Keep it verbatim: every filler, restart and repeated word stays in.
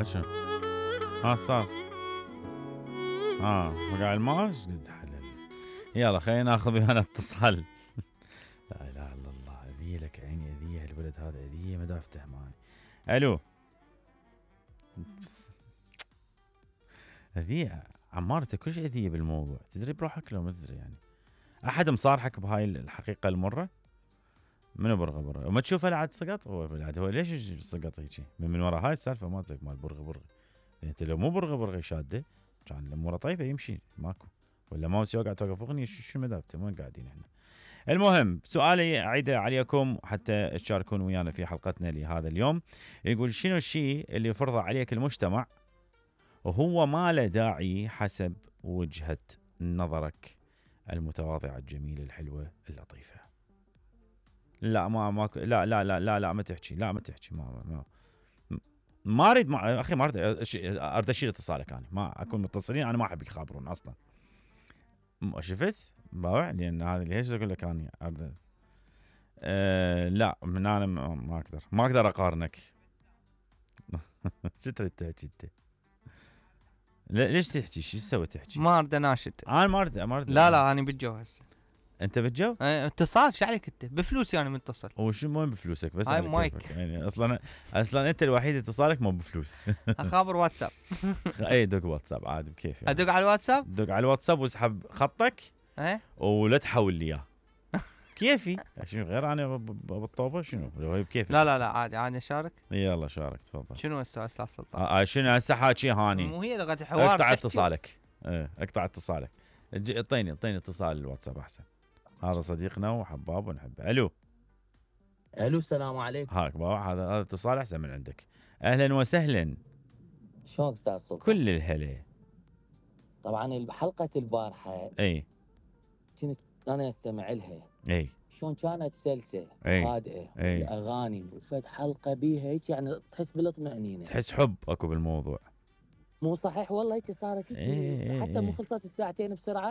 شنو؟ ها صار ها وقع الماء قد حلل. يلا خلينا ناخذ ويانا اتصال. لا اله الا الله، اذيه لك عيني، اذيه الولد هذا، اذيه ما دافته معي. الو اذيه عمارته كل شيء اذيه بالموضوع، تدري بروحك لو ما تدري يعني. احد مصارحك بهاي الحقيقه المره؟ منو برغه برغه؟ وما تشوفه لعد سقط هو بعد، هو ليش سقط هيجي؟ من, من ورا هاي السالفه مالتك مال برغه برغه. يعني انت لو مو برغه برغه شاده كان الامور طيبه يمشي ماكو، ولا ماوس يوقع توقف اغنيه شو مدافته وين قاعدين احنا. المهم سؤالي اعيده عليكم حتى تشاركون ويانا في حلقتنا لهذا اليوم. يقول شنو الشيء اللي فرضه عليك المجتمع وهو ما له داعي حسب وجهة نظرك المتواضعة الجميلة الحلوة اللطيفة؟ لا ما ما لا لا لا لا لا ما تحكي، لا ما تحكي، ما ما ما اريد ما اخي ما اريد اريد اشيل اتصالك، انا ما اكون متصلين، انا ما احب يخابرون اصلا. شفت؟ باوع لان هذا ليش اقول لك انا اريد أه لا من انا ما اقدر ما اقدر اقارنك. شو تريد تحكي انت؟ ليش تحكي؟ شو تسوي تحكي؟ ما اريد اناشد. انا ما اريد ما اريد لا لا انا بالجو هسه. انت بالجو؟ اه اتصال شو عليك انت؟ بفلوسي انا متصل. وشو مو بفلوسك بس هاي مايك يعني اصلا اصلا انت الوحيد اتصالك مو بفلوس. اخابر واتساب. اي دق واتساب عادي بكيف يعني. ادق على الواتساب؟ دق على الواتساب واسحب خطك ايه ولا تحول لي اياه. كيفي شنو غير انا بالطوبه شنو لو هي بكيفك؟ لا لا لا عادي عادي اشارك. يلا شارك تفضل. شنو السؤال استاذ سلطان؟ آه شنو هسه حاكي هاني؟ مو هي لغه الحوار. اقطع اتصالك. ايه اقطع اتصالك. اعطيني اعطيني اتصال الواتساب احسن. هذا صديقنا وحباب ونحبه. الو الو السلام عليكم. هاك بابا هذا هذا اتصال احسن من عندك. اهلا وسهلا. شلونك استاذ سلطان؟ كل الهلا. طبعا حلقه البارحه اي كنت انا استمع لها. اي شلون كانت سلسه هادئه واغاني وفد حلقه بيها هيك يعني تحس بالاطمئنينه، تحس حب اكو بالموضوع. مو صحيح والله هيك صارت هيك. ايه حتى ايه مو خلصت الساعتين بسرعه.